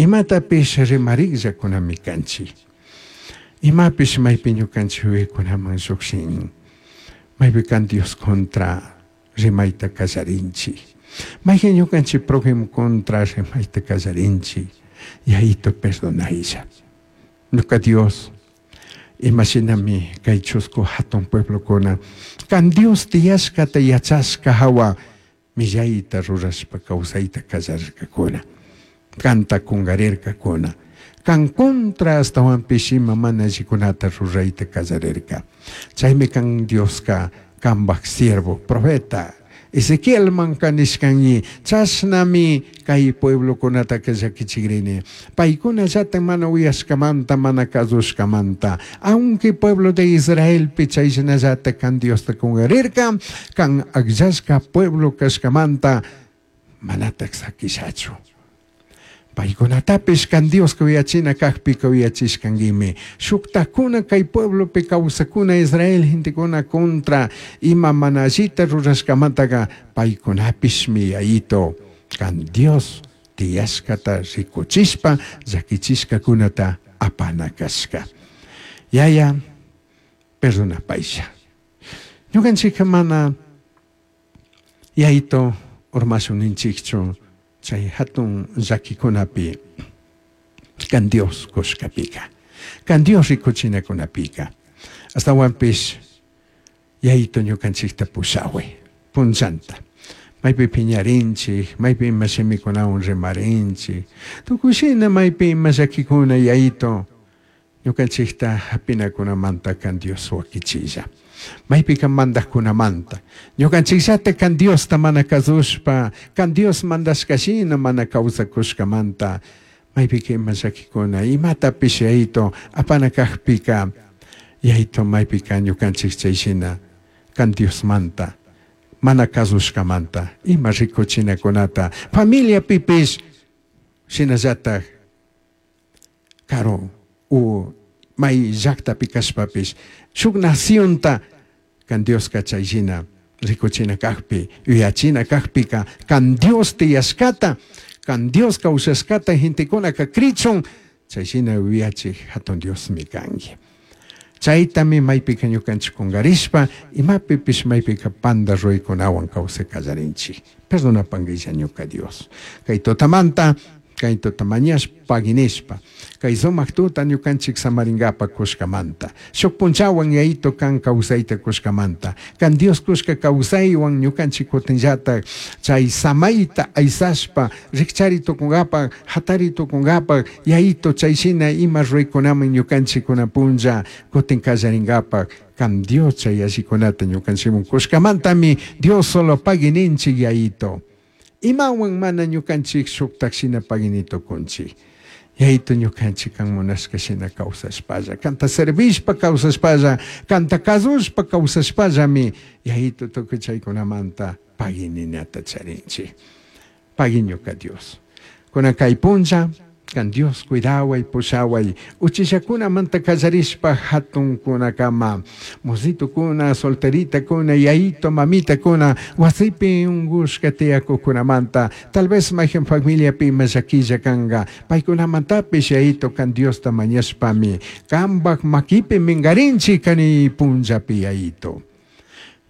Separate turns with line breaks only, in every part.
Imatapish rimarijllacunami canchij. Imapish maypi ñukanchik yuyaykunaman llukshin. Maypi kan Dios contra rimayta kallarinchik. Mayqin ñukanchik prójimo contra rimayta kallarinchik. Yayito perdonaylla. Ñuka Dios, imashinami kay chusku hatun pueblokuna kan Dios tiyashkata yachashka hawa millayta rurashpa kawsayta kallarkakuna. Kanta kungarirkakuna. Kan contra ashtawanpish ima mana allikunata rurayta kallarirka. Chaymi kan Dioska kambaj siervo, profeta Ezequielmanka nishkanñi, chashnami kay pueblokunataka llakichikrini. Paykunallata mana uyashkamanta, mana kasushkamanta. Aunque pueblo de Israelpi chayshinallata kan Diosta kungarirka, kan akllashka pueblo kashkamanta manatak sakishachu. Paykunatapish kan Dioska uyachina kakpika uyachishkankimi. Shuktakuna kay pueblopi kawsakuna Israel gentekuna contra ima mana allita rurashkamantaka paykunapishmi yayito kan Dios tiyashkata rikuchishpa llakichishkakunata apana kashka. Yaya, perdonapaylla. Ñukanchikka mana yayito urmashun ninchikchu chay hatun llakikunapi kan Dios kushkapika, kan Dios rikuchinakunapika. Ashtawanpish yayito ñukanchikta pushaway punllanta. Maypi piñarinchik, maypi ima shimikunawan rimarinchik, tukuy shina maypi ima llakikuna yayito ñukanchikta hapinakunamanta kan Dios wakichilla. Maypika mandajkunamanta. Ñukanchikllata kan Diosta mana kasushpa, kan Dios mandashkashina mana kawsakushkamanta, maypika ima llakikuna, imatapish yayito apana kakpika, yayito maypika ñukanchik chayshina kan Diosmanta, mana kasushkamanta, ima rikuchinakunata, familiapipish shinallatak karu u may llaktapi kashpapish shuk nacionta kan Dioska chayshina rikuchina kakpi, yuyachina kakpika, kan Dios tiyashkata, kan Dios kawsashkata gentekunaka krichun, chayshina yuyachik hatun Diosmi kanki. Chaytami maypika ñukanchik kungarishpa, imapipish maypika panda ruraykunawan kawsay kallarinchik. Perdonapankilla ñuka Dios. Kay tutamanta, kay tuta mañashpa paginishpa, kay sumak tuta ñukanchik samaringapa kushkamanta. Shuk punchawan yayito kan kawsayta kushkamanta. Kan Dios kushka kawsaywan ñukanchik kutinllatak chay samayta aysashpa rikchari tukunkapak, hatari tukunkapak, yayito chayshina ima ruraykunaman ñukanchikuna punlla kutin kallarinkapak, kan Dios chay allikunata ñukanchikman kushkamantami Dios solo pagininchik yayito. Imawan mana ñukanchik shuktak shina pagini tukunchik. Yayito ñukanchik kan munashka shina kawsashpalla, kanta servishpa kawsashpalla, kanta kasushpa kawsashpallami yayito tukuy chaykunamanta pagininata charinchik. Pagui ñuka Dios. Kunan kay punlla, kan Dios cuidaway, pushaway, uchillakunamanta kallarishpa hatunkunakama, mositukuna, solteritakuna, yayito, mamitakuna, wasipi unkushka tiyakuqkunamanta, tal vez mayqin familiapi ima llakilla kanka, paykunamantapish yayito kan Diosta mañashpami, kanpak makipi minkarinchik kani punllapi yayito.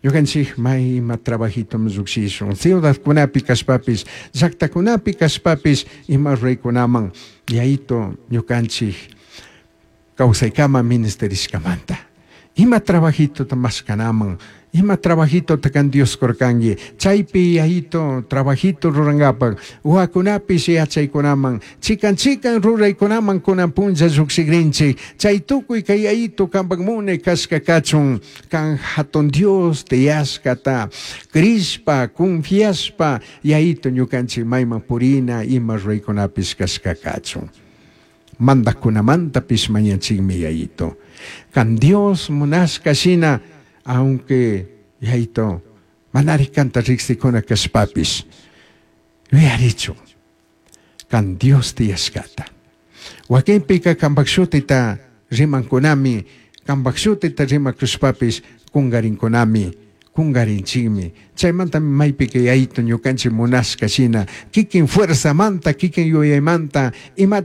Ñukanchik may ima trabajito llukshishun, ciudadkunapi kashpapish, llaktakunapi kashpapish, ima ruraykunaman yayito ñukanchik kawsaykama ministerishkamanta. Ima trabajitota mashkanaman, ima trabajitota kan Dios kurkanki, chaypi yayito trabajito rurankapak, wawakunapish yachaykunaman, chikan chikan ruraykunaman kunan punlla llukshikrinchik, chay tukuy kay yayito kanpak munay kashka kachun, kan hatun Dios tiyashkata, crishpa, confiashpa, yayito ñukanchik mayman purina ima ruraykunapish kashka kachun. Mandajkunamantapish mañanchikmi yayito. Kan Dios munashka shina, aunque yayito manari kanta riksikuna kashpapish, yuyarichu kan Dios tiyashkata. Wakinpika kanpak shutita rimankunami, kanpak shutita rimakushpapish kungarinkunami, kungarinchikmi. Chaymantami maypika yayito ñukanchik munashka shina, kikin fuerzamanta, kikin yuyaymanta, imata